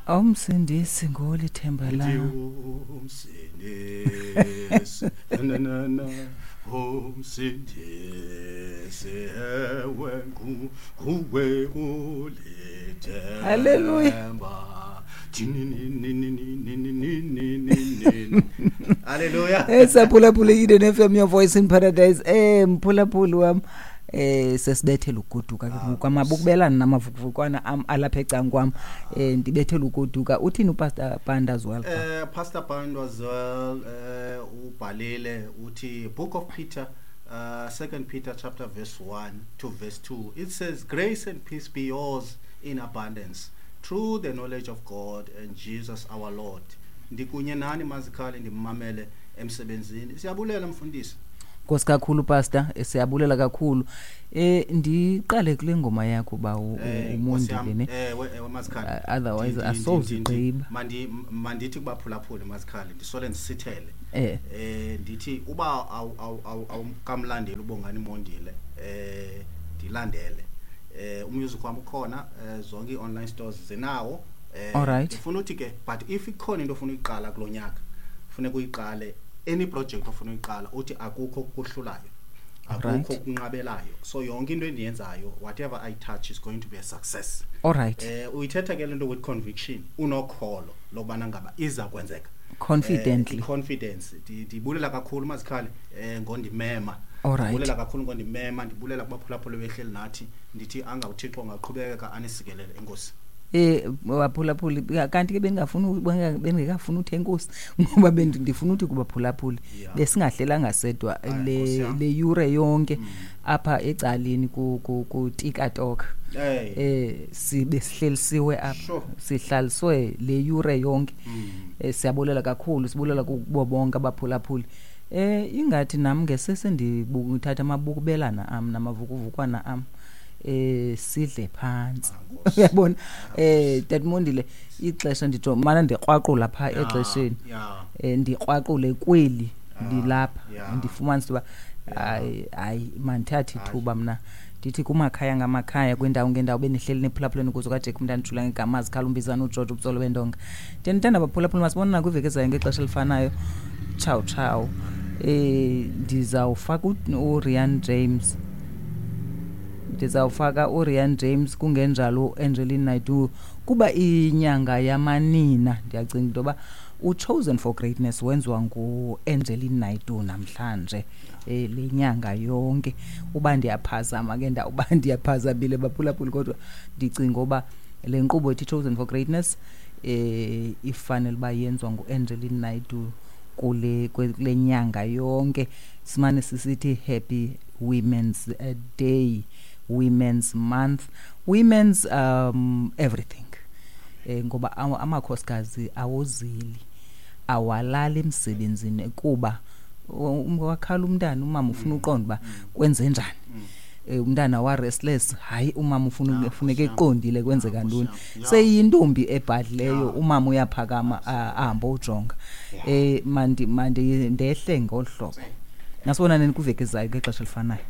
Umsindisi ngolithemba Ithi lam. umsindisi na na na umsindisi ewe nguwe ulithemba. Hallelujah. Tininininininininini. Hallelujah. Saphulaphula Eden FM, your voice in paradise. Mphulaphuli wam, sesibethela ugoduka ke ngoku, amabukubelana namavukuvukwana am alapha ecangkwam. Ndibethela ugoduka. Uthini uPastor Panda as well? Pastor Panda as well, ubhalile uthi Book of Peter, 2 Peter chapter verse 1 to verse 2. It says, grace and peace be yours in abundance through the knowledge of God and Jesus our Lord. Ndikunye nani mazikhali, ndimamele emsebenzini. Siyabulela mfundisi. Nkosi kakhulu pastor, siyabulela kakhulu. Ndiqale kule ngoma yakho ba Nkosi yam, umondile ne. Ewe mazikhali. Otherwise asozigqiba. Mandithi kubaphulaphuli mazikhali, ndisole ndisithele. Ndithi uba awukamlandeli uBongani Mondile, ndilandele. Umusic wam ukhona, zonke ii-online stores zinawo. Ndifuna uthi ke, but if ikhona into ofuna uyiqala kulo nyaka, funeka uyiqale. Any project ofuna uyiqala, uthi akukho okuhlulayo, akukho okunqabelayo. So yonke into endiyenzayo, whatever I touch is going to be a success. Uyithetha ke le nto with conviction, unokholo lokubana ngaba iza kwenzeka. Confidently. Confidence. Ndibulela kakhulu mazikhali, ngondimema. Ndibulela kakhulu ngondimema, ndibulela kubaphulaphuli behleli nathi, ndithi anga uThixo angaqhubeka anisikelele, enkosi. Baphulaphuli, kanti ke bengekafuni uthi enkosi, ngoba ndifuna uthi kubaphulaphuli, besingahlelanga sedwa Hayi, Nkosi yam. le yure yonke apha ecaleni ku TikTok. Sibe sihlelisiwe apha. Sihlaliswe le yure yonke. Siyabulela kakhulu, sibulela kubo bonke abaphulaphuli. Ingathi nam ngesese ndithatha amabukubelana am namavukuvukwana am. Sidle phantsi. Nkosi. Uyabona? Tatmondile, ixesha nditsho mana ndikrwaqula pha exesheni. Ndikrwaqule kweli ndilapha. Ndifumanise uba hayi, hayi, mandithathe ithuba mna. Ndithi kumakhaya ngamakhaya, kwindawo ngendawo, benihleli nephulaphuleni ukuze kwaJack umntana ujula ngegama, azikhala umbizana uGeorge ubutsolo bendonga. Ndiyandithanda baphulaphula, masibonana kwiveki ezayo ngexesha elifanayo. Ciao, ciao. Ndizawufaka uRian James. Ndizawufaka uRian James kungenjalo uAngeline Naidoo kuba inyanga yamanina. Ndiyacinga into yoba uChosen for Greatness wenziwa nguAngeline Naidoo namhlanje. Le nyanga yonke. Uba ndiyaphazama ke ndawuba ndiyaphazamile baphulaphuli, kodwa ndicinga uba le nkqubo ethi Chosen for Greatness, ifanele uba yenziwa nguAngeline Naidoo kule nyanga yonke. Simane sisithi Happy Women's Day, Women's Month, Women's everything. Ngoba amakhosikazi awozeli, awalali emsebenzini kuba wakhala umntana, umama ufuna uqonda uba kwenze njani. Umntana wa restless, hayi umama ufuna ufuneka eqondile kwenzeka ntoni. Seyintombi ebhadleyo, umama uyaphakama, ahambe ujonga. Mandi ndehle ngolu hlobo. Nasibonane kwiveki ezayo ngexesha elifanayo.